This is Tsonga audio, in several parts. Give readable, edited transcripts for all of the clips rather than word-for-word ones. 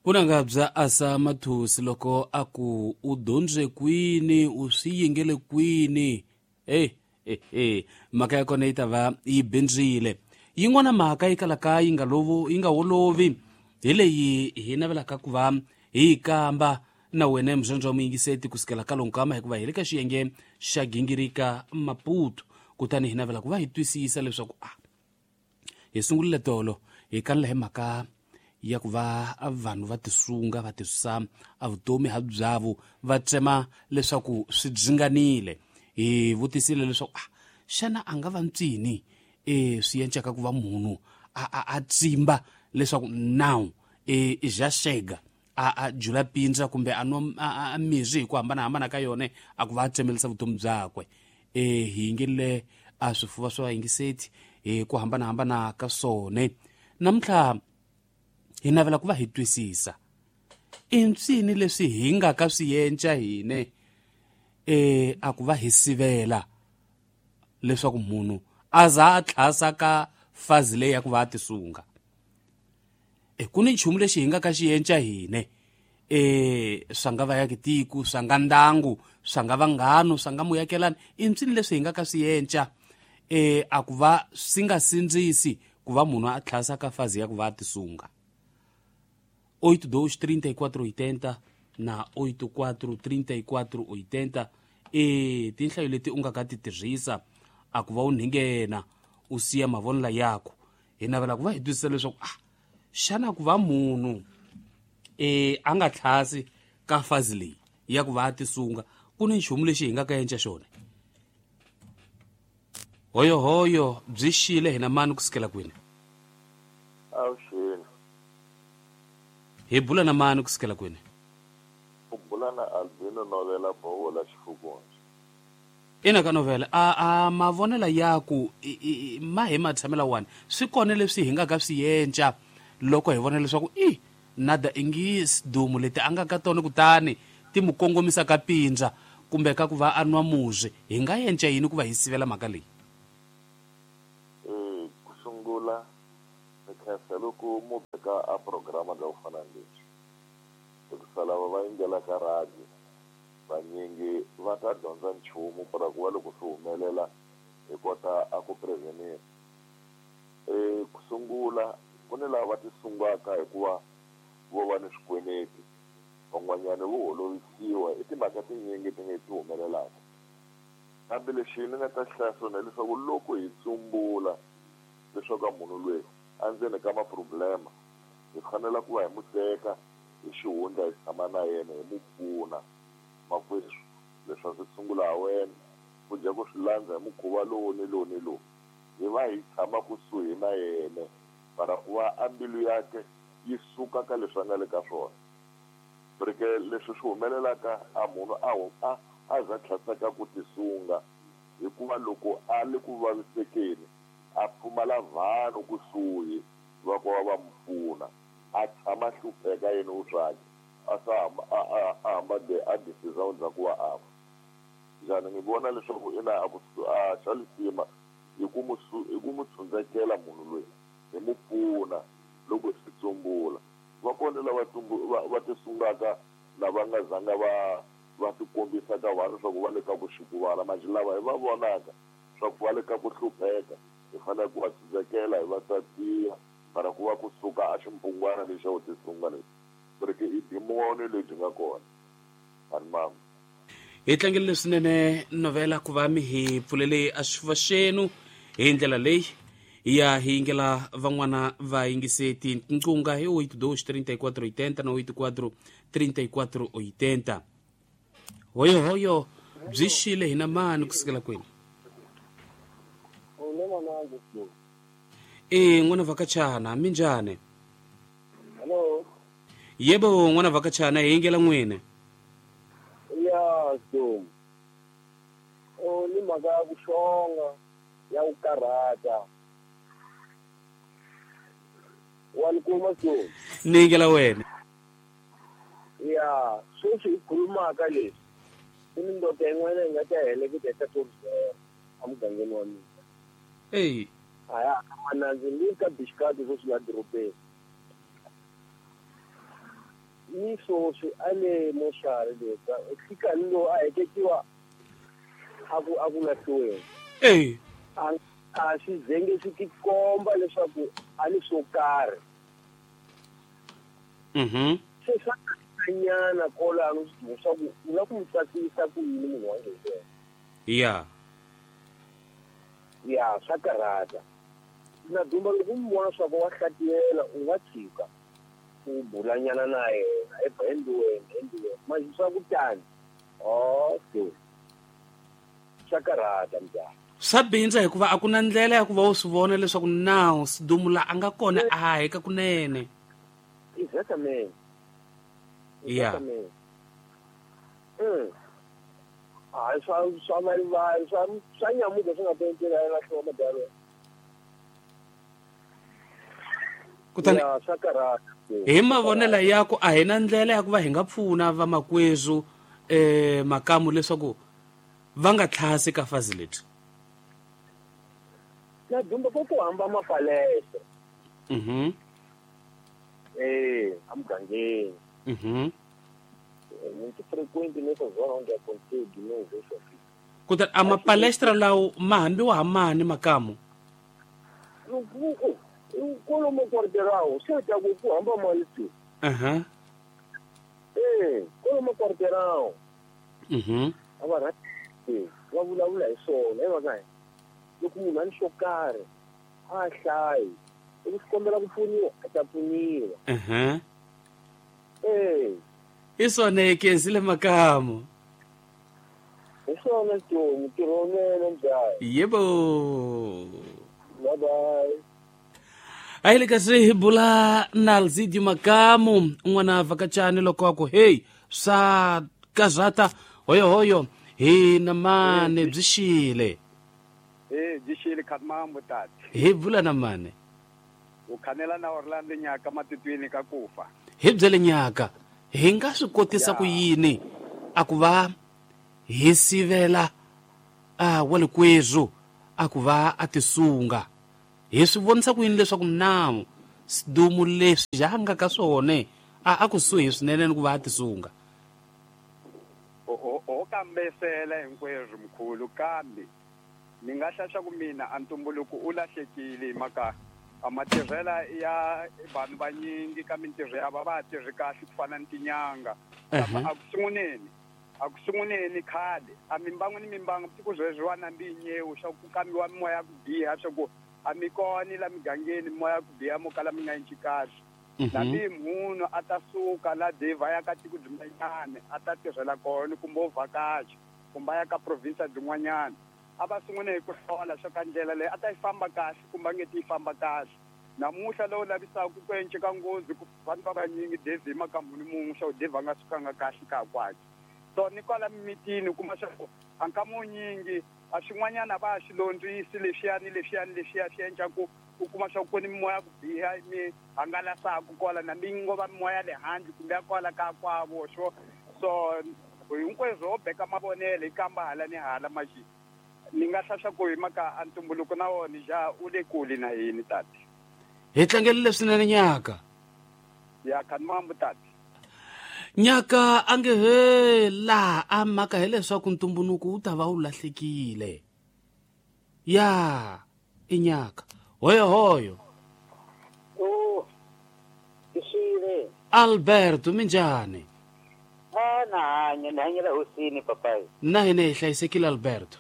Vunanga bya Asa Mathusi loko a ku u dyondze kwini u swi yingele kwini hey, hey, hey. Mhaka ya kona yi ta va yi bindzile. Yin'wana mhaka yi kalaka yi nga yi nga wolovi hi leyi hi navelaka ku va hi yi kamba na wena muzondzi wa muyingiseti kusukela ka lonkama, hikuva hi le ka xiyenge xa gingirika Maputo, kutani hi navela ku va hi twisisa leswaku a hi sungurile tolo hi kanela hi mhaka ya ku va vanhu va tisunga va tisusa a vutomi ha byavo va tsema leswaku swi dzinganile. Hi vutisile leswaku a xana a nga va ntsini swi encaka ku va munhu a tsimba leswaku now ja xega a jula pindza kumbe a nwa a mirhi hi ku hambanahambana ka yona a ku va a tsemelisa vutomi byakwe. Hi yingelile a swifuva swa vayingiseti hi ku hambanahambana ka swona. Namuntlha hi navela ku va hi twisisa i ntsini leswi hi nga ka swi yenca hine a ku va hi sivela leswaku munhu a za a tlhasa ka fazi leyi ya ku va a tisunga. Ku ni nchumu lexi hi nga ka xi yenca hine swa nga va ya tiko, swa nga ndangu, swa nga vanghano, swa nga muyakelani, i ntsini leswi hi nga ka swi yenca a ku va swi nga sindzisi ku va munhu a tlhasa ka fazi ya ku va a tisunga. 82 34 80 na 84 34 80 tinhlayo leti u nga ka ti tirhisa a ku va u nghena u siya mavonelo yakho. Hi navela ku va hi twisisa leswaku a xana ku va munhu a nga tlhasi ka fazi leyi ya ku va a tisunga ku ni nchumu lexi hi nga ka yenca xona. Hoyohoyo byi xile hina mani kusukela kwini? Avuxeni. Hi bula na mani kusukela kwini? U bula na Albino Novela Bowola Xifukunzi. Ina ka Novela, a mavonelo yaku ma hi matshamela wani swi kona leswi hi nga ka swi yenca loko hi vona leswaku i nada ingi sidumu leti a nga ka tona kutani ti mu kongomisa ka pindza kumbe ka ku va a nwa murhi, hi nga yenca yini ku va hi sivela mhaka leyi? Ku sungula ni khensa loko mu veka a programa ka ku fana na leswi, hikusa lava va yingelaka radio vanyingi va ta dyondza nchumu para ku va loko swi humelela hi kota a ku prevenir. Ku sungula ku ni lava va tisungaka hikuva vo va ni swikweleti, van'wanyana vo holovisiwa i timhaka tinyingi ti nge ti humelelaka. Kambe lexi ni nga ta hlaya swona hileswaku loko hi tsumbula leswaku a munhu loyi a ndzeni ka maproblema, hi fanele ku va hi mu teka hi xihundla hi tshama na yena hi mu pfuna. Makwerhu, leswi a swi sungula ha wena, ku dya ku swi landza hi mukhuva lowu ni lowu ni lowu, hi va hi tshama kusuhi na yena para ku va a mbilu yakwe yi suka ka leswi a nga le ka swona. Rike leswi swi humelelaka a munhu a a za tlhasaka ku tisunga, hikuva loko a le ku vavisekeni a pfumala vanhu kusuhi va ku va va mu pfuna, a tshama hlupheka yena u swakhe a sa a hamba de a decision dza ku va a fa. Njhani ni vona leswaku ina a ku a xa lisima hi ku mu hi ku mu tshundzekela munhu loyi hi mu pfuna loko hi swi tsumbula. Va kona lava va tisungaka lava nga zanga va va tikombisa ka vanhu leswaku va le ka ku xikuvala, manje lava hi va vonaka swa ku va le ka ku hlupheka hi fanele ku va tshundzekela hi va tatiya para ku va kusuka a ximpungwana lexi xa ku tisunga lexi, ku ri i dimoni lebyi nga kona. Ani mama. Hi tlangele swinene Novela ku va mi hi pfulele a xifuva xenu hi ndlela leyi ya hi yingela van'wana va yingiseti. Nqunga hi 82 34 80 na 84 34 80. Hoyohoyo byi xile hina mani kusukela kwini? N'wana vhakachana minjhani? Hello. Yebo n'wana vhakachana, hi yingela n'wina. Ya so ni mhaka ya ku xonga ya ku karhata wa ni kuma so ni yingela wena. Ya sweswi hi khulumaka leswi i mindoda yin'wana yi nga ta heleketa hi ta emugangeni wa mina. Eyi aya manandzi ni ka bixikati sweswi la dorobeni. Ni swoswi a le moxari le ka lo a heketiwa a ku lahliweni. Eh. A swi zenge swi tikomba leswaku a ni swo karhi. Mhm. Se swa nyana kolano leswaku u la ku n'wi tsakisa ku yini munhu wa yena. Ya. Ya, swa karhata. Na dumba loko u n'wi vona swa ku wa hlatiyela u nga tshika u bulanyana na yena endliweni manje swa ku tani. Okay. Swa karhata mbyana. Swa bindza hikuva a ku na ndlela ya ku va u swi vona leswaku nawu Sidumula a nga kona a heka kunene. Exactamente. Ya. Hayi swa valivali swa nyamuka swi nga tentela ya lahliwa madalo. Kutani swa karhata. Hi mavonelo yaku a hi na ndlela ya ku va hi nga pfuna vamakwezu makamu leswaku va nga tlhasi ka fazi leti. Na dumba ko ku hamba mapalese. Mhm. Amugangeni. Mhm. Muito frequente nessa zona onde aconteceu de novo isso aqui. Kutani a mapalestra lawo ma hambiwa ha mani makamu? Kolomo quarteirão, se ta ku hamba mali tu. Aha. Kolomo quarteirão. Mhm. Ava va vulavula hi swona hi mhaka loko munhu a ni xo karhi a hlayi loko swi kombela ku pfuniwa a ta pfuniwa. Mhm. I swona ekezile makamu. Hi swona Tomu, ntirho wunene njhani? Yebo. Bye bye. A hi le kasi hi bula na Alzidio Makamu un'wana vhakachani loko a ku hey swa kazata hoyohoyo hi na mane byi xile. Byi xile khamambo tati. Hi bula na mane. U khanela na Orlando nyaka matitwini ka kufa. Hi byele nyaka hi nga swi kotisa ku yini a ku va hi sivela a walikwezu a ku va a tisunga. Hi swi vonisa ku yini leswaku nawu sidumu leswi ja nga ka swona a kusuhi swinene ni ku va a tisunga. O kambesela hinkwerhu mkhulu kambe ni nga hlahla ku mina a ntumbuluko u lahlekile hi mhaka a matirhela ya vanhu vanyingi ka mintirho ya va tirhi kahle ku fana ni tinyanga. A ku sunguleni khale a mimbangu ni mimbangu siku sweswi na mbinyewu swa ku kambiwa mimoya ya ku biha swa ku a mi kona la migangeni mimoya ya ku biha mo kala mi nga endli kahle. Nambi munhu a ta suka la deva ya ka tiko byin'wanyana a ta tirhela kona kumbe o vhakacha kumbe a ya ka province byin'wanyana a va sungule hi ku hlola swa ka ndlela leyi a ta yi famba kahle kumbe a nge ti yi famba kahle. Namuntlha lowu lavisaka ku enceka nghozi ku vanhu va vanyingi Dave hi mhaka munhu mun'we swa ku Dave a nga sukanga kahle ka kwakhe. So ni kwala mimitini u kuma swa ku a nkama wunyingi a swin'wanyana va swi londzisi leswiya ni leswiya ni leswiya swi endla ku u kuma swa ku ku ni mimoya ku biha mi hangalasaka kwala na mi ngo va mimoya le handle kumbe ya kwala ka kwavo so hinkweswo ho beka mavonelo hi kamba hala ni hala maxi ni nga hlahla ku hi mhaka a ntumbuluko na wona ja u le kule na yini tati. Hi tlangelile swinene nyaka. Ya khanimambu tati. Nyaka a nge he laha a mhaka hileswaku ntumbuluko wu ta va wu lahlekile. Ya i nyaka. Hoyohoyo. Xile. Alberto minjhani? Na hanya ni hanyela hosini papai. Na hina hi hlayisekile Alberto.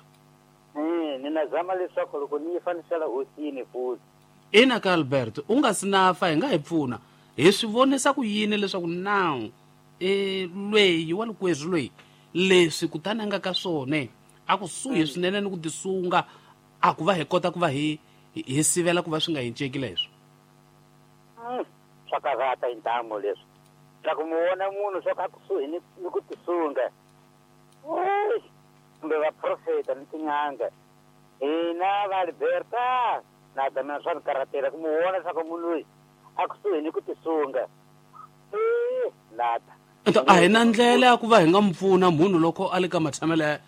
Ni na zama leswaku loko ni yi fanisela hosini futhi. Ina ka Alberto u nga si na fa hi nga hi pfuna. Hi swi vonisa ku yini leswaku nawu lweyi wa likwezwi lweyi leswi kutani a nga ka swona a kusuhi swinene ni ku tisunga a ku va hi kota ku va hi sivela ku va swi nga hinceki leswo. Swa karhata hi ntamu leswi. Loko mu vona munhu swa ku a kusuhi ni ku tisunga kumbe vaprofeta ni tin'anga hina va Alberta na ta mina swa ni karhatela ku mu vona leswaku munhu loyi a kusuhi ni ku tisunga. Nata. A hi na ndlela ya ku va hi nga mu pfuna munhu loko a le ka matshamelo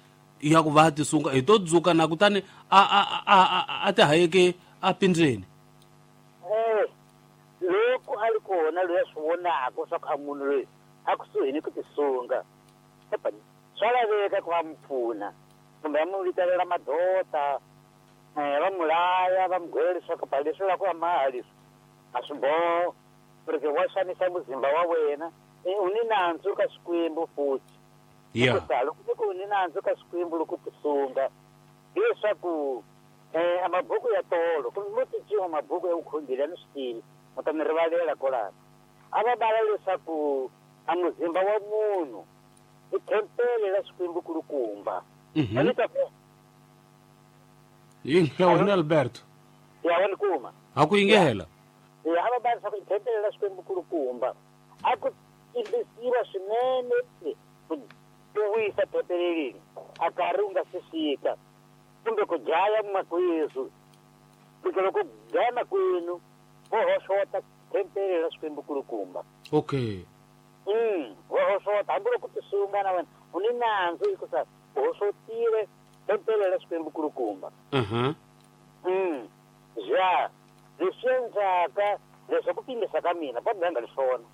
ya ku va a tisunga hi to dzuka na kutani a ti hayeke a pindzeni. Loko a ri kona loyi a swi vonaka swa ku a munhu loyi a kusuhi ni ku tisunga swa laveka ku va mu pfuna kumbe va mu vitelela madota va mu laya va mu gwela leswaku pa leswi la ku ya maha leswi a swi boho porque wa xanisa muzimba wa wena u ni nandzu ka Xikwembu futhi loko ku u ni nandzu ka Xikwembu loko tisunga hileswaku a mabuku ya tolo kumbe mo cinciwa mabuku ya vukhongeri a ni swi tivi mu ta ni rivalela kwalano a va bala leswaku a muzimba wa munhu i tempele la Xikwembu kulukumba yinga wena Alberto ya wena kuma ha ku yingela ya a va bala leswaku i tempele la Xikwembu kulukumba a ku timbisiwa swinene ku wisa tempele leyi a karhi u nga se fika kumbe ku dlaya makwenu porque loko dlaya makwenu vo hoxota tempele la Xikwembu kulukumba okay vo hoxota hambi loko tisunga na wena u ni nandzu hikusa u hoxotile tempele la Xikwembu kulukumba ja leswi endlaka leswi ku pimbisa ka mina va nga ri swona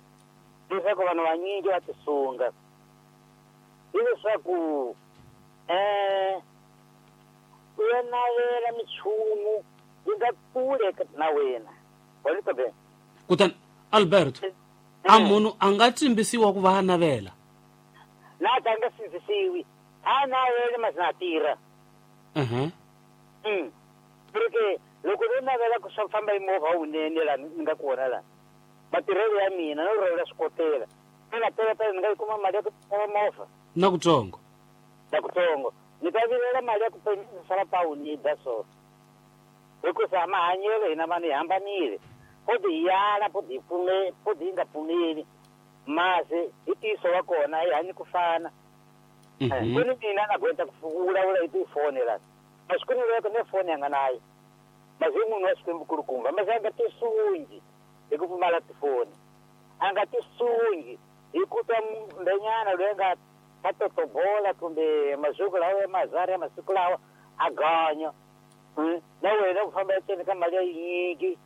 leswaku vanhu vanyingi va tisunga hileswaku u ya navela minchumu yi nga kule na wena wa kutani Alberto a munhu a nga tsimbisiwa ku va a navela na ta nga sindzisiwi a navele masi na tirha porque loko no navela ku swa famba hi movha wunene laha ni nga kona laha matirhelo ya mina no rhwela swikotela ni nga teletela ni nga yi kuma mali ya ku xava movha na kutsongo na kutsongo ni ta vilela mali ya ku xava pawuni yi da so hikusa mahanyelo hina vanhu hi hambanile po hi yala po hi pfume po hi nga pfumeli masi hi ntiyiso wa kona hi hanyi ku fana ku ni mina na gweta ku vulavula hi tifoni laha masi ku ni loko ne foni ya nga nayo masi i munhu wa Xikwembu kulukumba masi a nga tisungi hi ku pfumala tifoni a nga tisungi hi ku twa mbenyana loyi a nga ta totobola kumbe masiku lawa ya mazari ya masiku lawa a ganya na wena ku famba eceni ka mali ya yinyingi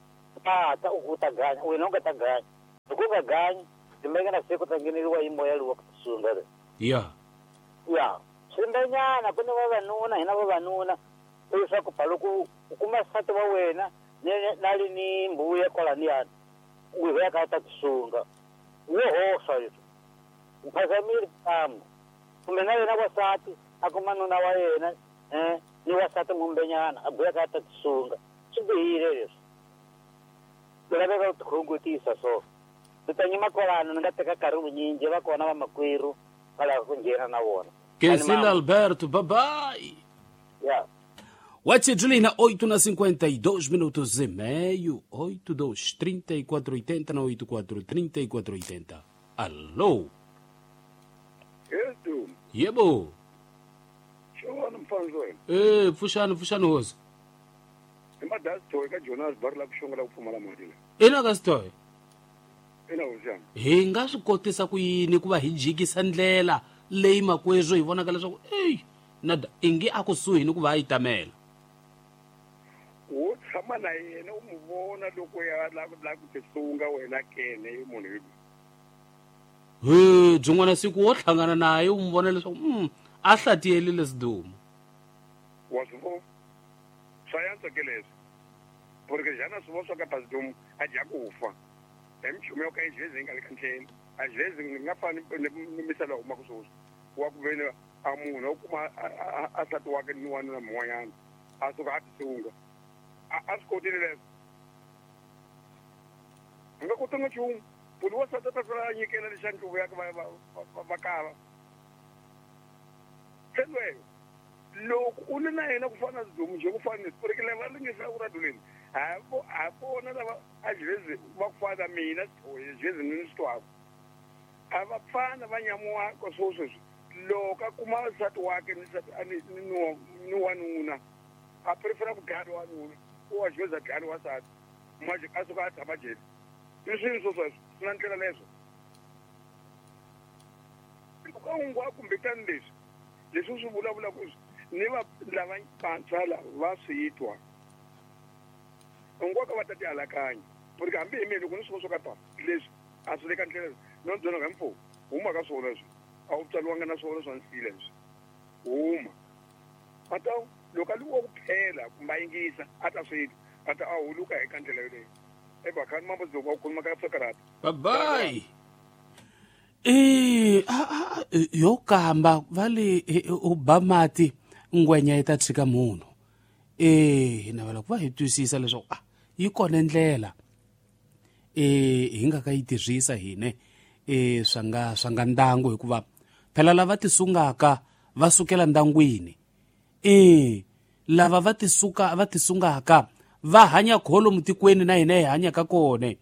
ta u ta ganya wena u nga ta ganya loko u nga ganyi timbeke na siku ta ngheneriwa hi moya lowu wa ku tisunga le ya ya swimbenyana ku ni vavanuna hina vavanuna leswaku pa loko u kuma nsati wa wena na li ni mbuya kwalaniyani u ya ka ta tisunga wo hoxa leswi u phazamile ntambu kumbe na yena wasati a kuma nuna wa yena ni wasati mumbenyana a buya ka ta tisunga swi bihile leswi ku laveka ku tikhongotisa so ni ta nyima kwalano ni nga teka nkarhi vunyingi va kona vamakwerhu va lava ku nghena na vona Kensile Alberto, bye bye. Yeah. Wachidlina 8:52 minutos e meio, 82 34 80 na 84 34 80. Alô? Yedu. Yebo. Xona mfanzo wena. Pfuxani pfuxani hosi. I madasitoy ka Jonas bar la ku xonga la ku pfumala mali le. Ina ka sitoy. Ina hosi. Hi nga swi kotisa ku yini ku va hi jikisa ndlela leyi makwezo hi vonaka leswaku ey nada ingi a kusuhi ni ku va yi tamela. Wo tshama na yena u mu vona loko ya la ku tisunga wena kene i munhu hi. He byin'wana siku wo hlangana naye u mu vona leswaku a hlatiyelile sidumo. Wa swi vona swa yantswa ke leswi porque xana swi vona swa ka pasidumo a dya ku fa hi minchumu yo ka yi jezi yi nga le ka ndlela a jezi ni nga fani ni misala humaka sweswi wa ku veni a munhu u kuma a nsati wakhe ni wanuna mun'wanyana a suka a tisunga a swi kotile leswo a nga kotanga nchumu munhu wa nsati a ta tlula a nyikela lexa ndluvu yakhe va kava se lweyo loko u ri na yena ku fana na sidumu nje ku fana leswi porque lava ringisaka raduleni ha vona lava a jezi va ku fana mina jezi ni swi twaka a va pfana va nyamuwaka swo sweswi loko a kuma nsati wakhe ni nsati ni wanuna a prefera ku dlaya wanuna u wa jezi a dlaya wansati manje a suka a tshama jele i swilo swo sweswo swi na ndlela leswo loko a hungu kumbe tani leswi leswi swi vulavulaka ni va lava vantshwa lava va swi twa nkoka va ta ti alakanya porque hambi hi mina loko ni swi vona swo ka pa leswi a swi le ka ndlela no byona hi mfumo Huma ka swona leswi a wu tswariwanga na swona swa nsila leswi huma a ta loko a wa ku phela kumbe a yingisa a ta swi a ta a huluka eka ndlela yoleyo ebakhani mambo wa khuluma ka sokarata. Bye bye. Yo kamba vale u ba mati ngwenya yi ta tshika munhu. Hi navela ku va hi twisisa leswaku yi kona ndlela hi nga ka yi tirhisa hine swa nga ndangu, hikuva phela lava tisungaka va sukela ndangwini. Lava va tisungaka va hanya kholo mutikweni na hina hi hanyaka kona.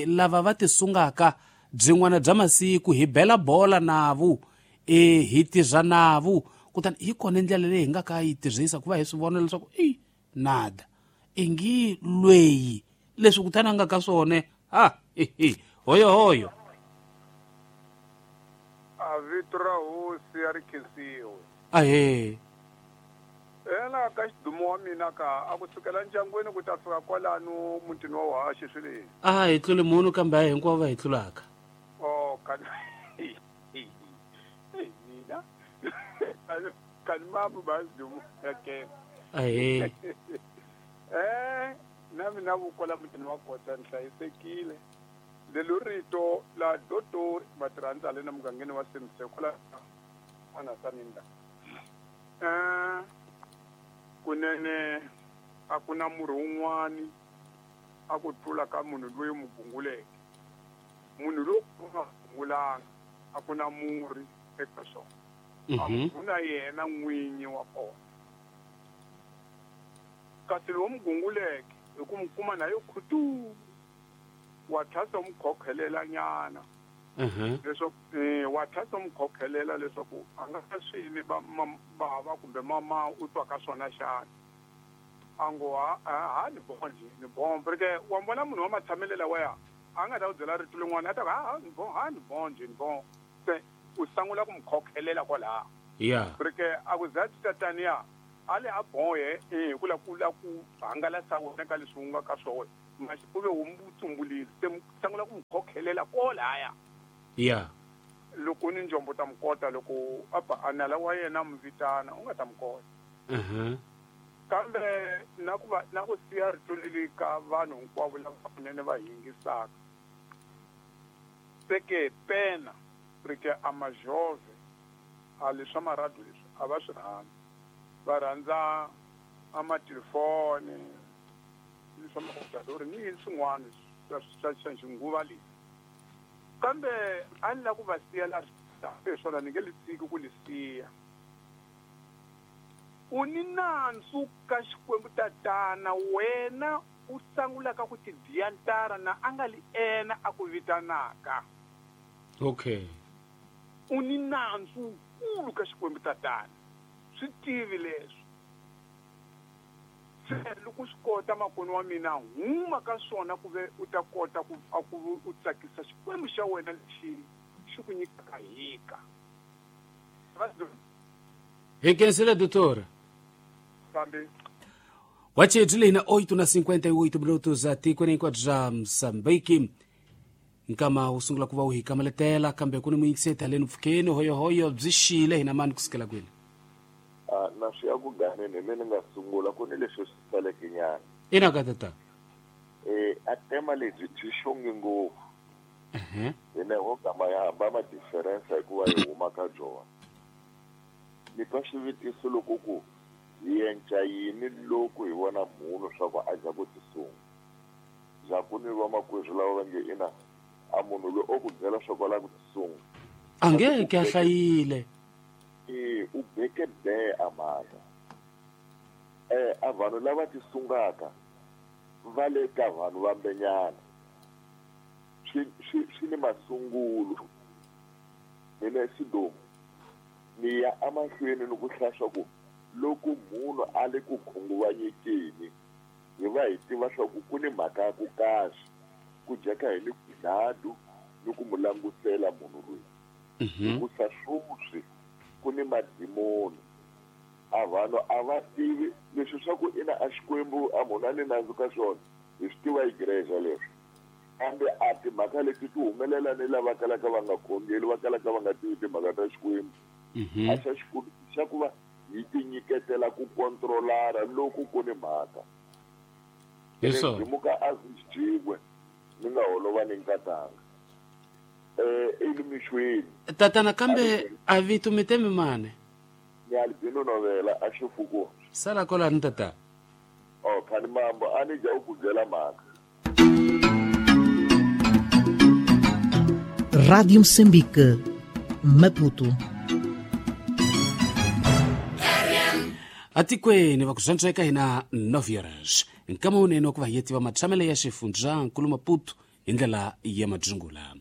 Lava va tisungaka byin'wana bya masiku hi bela bola navo, hi tirha navo, kutani hi kona ndlela leyi hi nga ka yi tirhisa ku va hi swi vona leswaku nada ingi lweyi leswi kutani a nga ka swona. Hoyo hoyo a vito ra hosi a ri khensiwe. Ahe ena ka xidumo wa mina ka a ku sukela ndyangwini ku ta fika kwalano mutini wa Haxi swi leswi. A hi tluli munhu kambe a hinkwavo va hi tlulaka. Oh kani mina kani mamu ba xidumo ke. Ahe na mina vukola mutini wa Kota ni hlayisekile. Lelo rito la dotor matirhandza le na mugangeni wa Simse kwala n'wana saninda. Kunene a ku na murhi wun'wani a ku tlula ka munhu loyi mu gunguleke. Munhu loyi u nga gungulanga a ku na murhi eka swona. A ku na yena n'winyi wa kona. Kasi lowu mu gunguleke hi ku mu kuma na yo khutu wa tlhasa mu khokhelela nyana. Leswaku wa tlhasa mu khokhelela leswaku a nga swini bava kumbe mama u twa ka swona xana. A ngo ha ni bon nje ni bon porque wa vona munhu wa matshamelela wa ya a nga ta ku byela rito lin'wana a ta ku ha ni bon ha ni bon nje ni bon se u sangula ku mu khokhelela kwalaho. Yeah. Porque a ku za tataniya a le a bon ye hi ku la ku la ku hangalasa wena ka leswi u nga ka swona maxi u ve u mu tsumbulile se sangula ku mu khokhelela kwalaya. Yeah. Loko ni njombo ta mukota loko apa anala wa yena mu vitana u nga ta mukota. Kambe na ku va na ku siya rito leri ka vanhu hinkwavo lava kunene va yingisaka. Seke pena rike a majove a leswa maradu leswi a va swi rhandzi. Va rhandza a matelefoni leswa makotadori ni yini swin'wana swa xinguva leyi. Kambe a ni la ku va siya la swona ni nge li tshiki ku li siya. U ni nandzu ka Xikwembu tatana wena u sangulaka ku tibiya ntara na a nga li ena a ku vitanaka. Okay. U ni nandzu wukulu ka Xikwembu tatana. Swi tivi leswi. Se loko swi kota makoni wa mina huma ka swona ku ve u ta kota ku u tsakisa Xikwembu xa wena lexi xi ku nyikaka hika. Hi khensile doutor. Fambi. Wachedzi na 8:58 minutos atikweni hinkwabyo bya Mozambique. Nkama wu sungula ku va wu hi kamaletela kambe ku ni muyingiseti haleni mpfhukeni hoyohoyo byi xile hina mani kusukela kwini. Na swi ya ku ganeni hi le ni nga sungula ku ni leswi swi saleke nyana. Ina ka tata. A tema lebyi byi xonge ngopfu. Hina ho gama ya hamba ma difference hikuva hi huma ka byona. Ni twa xivutiso loko ku hi enca yini loko hi vona munhu swa ku a dya ku tisunga. Bya ku ni vamakwerhu lava va nge ina a munhu loyi o ku byela swa ku a lava ku tisunga. A nge ke a hlayile. U beke be a mhaka. A vanhu lava tisungaka va le ka vanhu vambenyana. Swi ni masungulo. Mina Sidomu ni ya emahlweni ni ku hlaya ku loko munhu a le ku khunguvanyekeni hi va hi tiva swa ku ku ni mhaka ya ku kahle ku dyeka hi ni dladu ni ku mu langusela munhu loyi. Hikusa swoswi ku ni madimoni. A vanhu a va tivi leswi swa ku ina a Xikwembu a munhu a ni nandzu ka swona hi swi tiva igreja leswi. Kambe a timhaka leti ti humelela ni lava kalaka va nga khongeli, va kalaka va nga tivi timhaka ta Xikwembu. A xa xikulu xa ku va hi tinyiketela ku kontrolara loko ku ni mhaka. Hi swona. Muka a swi ni nga holova ni nkatanga. Elimixweni. Tatana kambe a vito mi temi mane. Ni Albino Novela a xifuku. Sala kolani tata. Oh, khani mambo a ni dya ku byela mhaka. Rádio Moçambique, Maputo. Atikweni va ku zwantswa eka hina 9 horas nkama wunene wa ku va hi tiva matshamelo ya xifundza nkulu Maputo hi ndlela ya madzungula.